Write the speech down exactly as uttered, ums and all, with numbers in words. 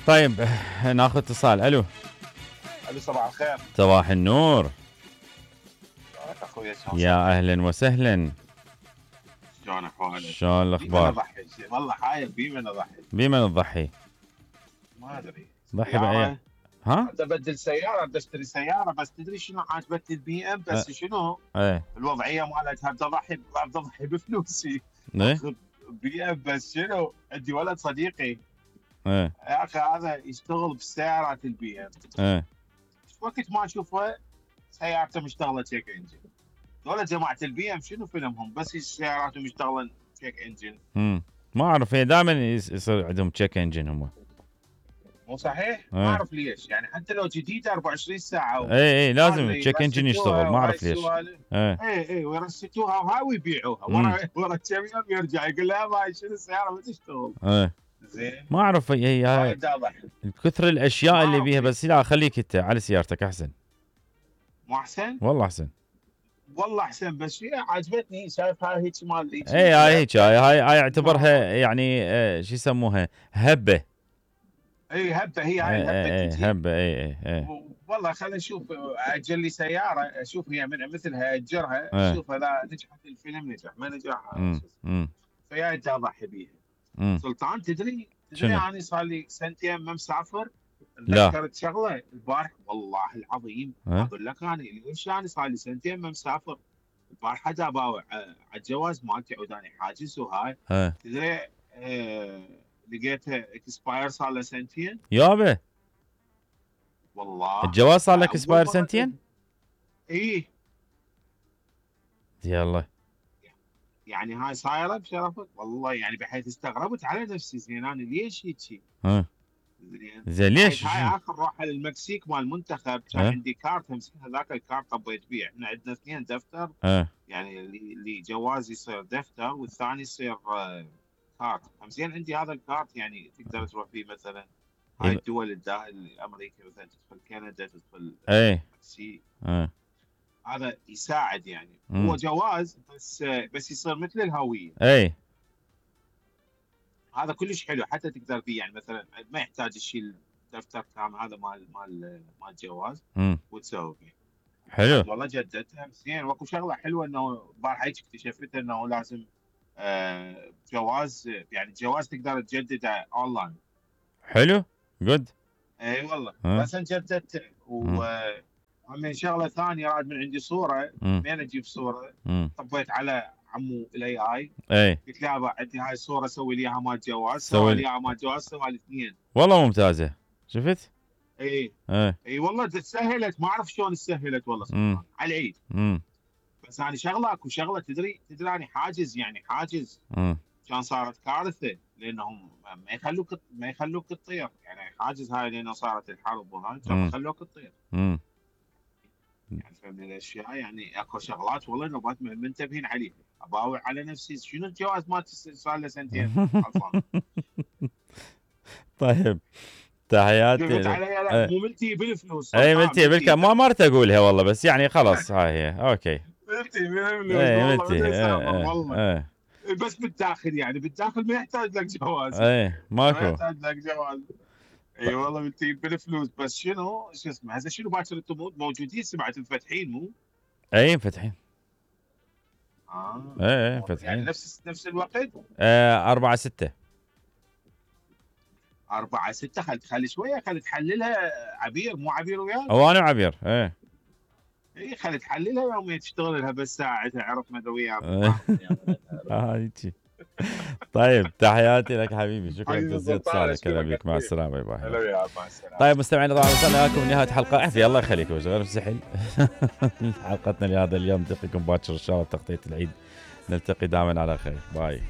طيب ناخذ اتصال. الو. الو صباح الخير. صباح النور. شلونك اخوي؟ يا اهلا وسهلا. شلون احوالك؟ شلون الاخبار؟ بمن اضحي؟ والله حايل بمن اضحي؟ بمن تضحي؟ ما ادري. ضحي باي؟ ها؟ بدي ابدل سياره، بدي اشتري سياره، بس تدري شنو عاجبتني البي ام؟ بس أه. شنو؟ ايه الوضعيه مالتها بدي اضحي بدي اضحي بفلوسي. ايه بي ام بس شنو؟ عندي ولد صديقي ايه يا اخي هذا يشتغل بسيارات البي ام. ايه وقت ما اشوفه سيارته مشتغله تشيك انجن. ولا جماعه البي ام شنو فيلمهم؟ بس سياراتهم مشتغله تشيك انجن. امم ما اعرف، هي دائما يصير عندهم تشيك انجن هم. مو صحيح؟ ايه. ما اعرف ليش، يعني حتى لو جديده أربعة وعشرين ساعه. اي اي لازم تشيك انجن يشتغل، ما اعرف ليش. اي اي اي ويرستوها وهاي ويبيعوها ورا ورا كم يوم يرجع يقول لها ما شنو السياره ما تشتغل. ايه زين. ما اعرف هي هاي كثر الاشياء اللي بيها، بس لا خليك انت على سيارتك احسن. مو احسن؟ والله احسن. والله احسن، بس هي عجبتني. شايف هاي هيك مال هيك. اي هاي هيك هاي هاي هاي اعتبرها يعني اه شو يسموها هبه. اي هبه، هي هاي الهبه. اي اي هبه اي اي اي والله خليني اشوف اجل لي سياره اشوف هي من مثلها اجرها اشوف اذا نجحت الفيلم نجح ما نجح. امم فيا انت اضحي بيها. سلطان تدري تدري انا صار لي سنتين ما مسافر. لا تذكرت شغله البارح والله العظيم اقول لك انا ليش انا صار لي سنتين ما مسافر. البارحه دا باوع على الجواز مالتي عوداني حاجز وهاي. تدري اه لقيتها اكسباير صار له سنتين. يابا والله الجواز صار لك اكسباير سنتين؟ ايه يلا يعني هاي صايره بشرفك والله، يعني بحيث استغربت على نفسي. زين انا ليش هيك؟ ها زين ليش؟ هاي اخر روحه للمكسيك مال المنتخب كان عندي كارت همسكين هذاك الكارت طبيت بيه. احنا عندنا اثنين دفتر. أه. يعني اللي جواز يصير دفتر والثاني يصير كارت. همسكين عندي هذا الكارت يعني تقدر تروح فيه مثلا هاي الدول الامريكا مثلا تدخل كندا تدخل المكسيك. أه. هذا يساعد يعني. مم. هو جواز بس بس يصير مثل الهويه. اي هذا كلش حلو حتى تقدر فيه يعني مثلا ما يحتاج تشيل دفتر كامل هذا مال مال مال الجواز وتسوي فيه. حلو والله جددتها زين. واكو شغله حلوه انه البارحه هيك اكتشفت انه لازم آه جواز يعني الجواز تقدر تجدده اونلاين. حلو جود. اي والله أه. بس انا جددته ومن شغله ثانيه راد من عندي صوره منين اجيب صوره؟ طبيت على عمو الاي اي. اي قلت له ابا عندي هاي الصوره سوي لي اياها مال جواز. سوي لي اياها مال جواز سوى لي اثنين. والله ممتازه. شفت؟ اي اي اي والله سهلت. ما اعرف شلون سهلت والله سبحان على العيد. امم بس انا شغله اكو شغله تدري تدري انا حاجز يعني حاجز. امم كان صارت كارثه لانهم ما يخلوك ما يخلوك تطير يعني حاجز هاي لانه صارت الحرب وهاي كانوا يخلوك تطير. امم يعني فهمني الاشياء يعني اكو شغلات والله نبات منتبهين عليها. اباوع على نفسي شنو الجواز مالتي صار له سنتين خلصان. طيب تحياتي. قلت عليها لا مو ملتي بالفلوس. اي ملتي بالك ما مرت اقولها والله بس يعني خلاص هاي هي اوكي. ملتي بالفلوس اي ملتي والله. بس بالداخل يعني بالداخل ما يحتاج لك جواز. اي ماكو ما يحتاج لك جواز. اي أيوة والله ملتي بالفلوس. بس شنو شو اسمه هذا شنو باكر انتم موجودين سمعت مفتحين مو؟ اي مفتحين. اه اي مفتحين يعني نفس نفس الوقت؟ آه أربعة ستة. أربعة ستة. خل تخلي شوية خل تحللها عبير مو عبير وياك؟ هو أنا وعبير اي اي خل تحللها يوميا تشتغل لها بس ساعتها عرفنا اذا وياك. اه هيجي. طيب تحياتي لك حبيبي. شكرا جزيلا اتصالك. هلا بك مع السلامه. باي باي. هلا مع السلامه. طيب مستمعينا طبعا وصلنا لكم نهايه حلقه عافيه الله يخليكم غير مسحل. حلقتنا لهذا اليوم نلتقيكم باكر ان شاء الله تغطيه العيد. نلتقي دائما على خير. باي.